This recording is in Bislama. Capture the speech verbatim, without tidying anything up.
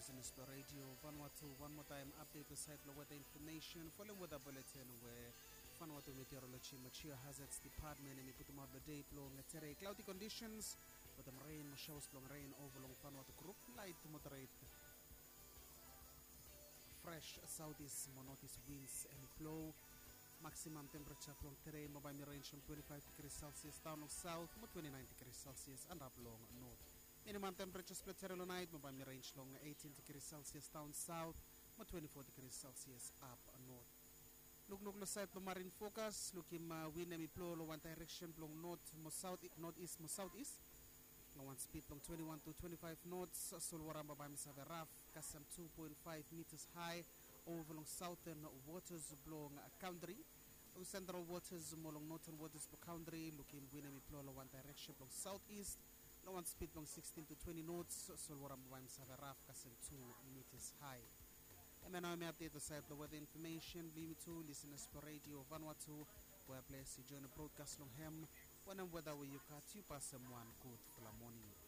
Listeners blong Radio Vanuatu, wan moa taem update long sait blong weather information. Folem weather bulletin we Vanuatu Meteorology and Geohazards Department hemi putumaot long dei blong tere. Cloudy conditions wetem rain mo showers blong rain ova long Vanuatu group. Light to moderate fresh southeast mo northeast winds hemi blow. Maximum temperature blong tere mo bae hemi range from twenty-five degrees Celsius daon long south mo twenty-nine degrees Celsius antap long north. Minimum temperatures blong tere long nait mo bae hemi range long eighteen degrees Celsius daon south mo twenty-four degrees Celsius ap north. Lukluk long sait blong marine forecast, lukim win hemi blow long wan direction blong north mo south, northeast mo southeast long wan speed blong twenty-one to twenty-five knots. Solwara bae hemi save raf kasem two point five meters high ova long southern waters blong country. Long central waters mo long northern waters blong country, lukim win hemi blow long wan direction blong southeast long wan speed blong sixteen to twenty knots. Solwara bae hemi save raf kasem two meters high. Hemia nao hemi update long sait blong weather information blong yumi tu listeners blong Radio Vanuatu. We ples yu join broadcast long hem. Wanem weather we yu gat, yu pasem wan gudfala moning.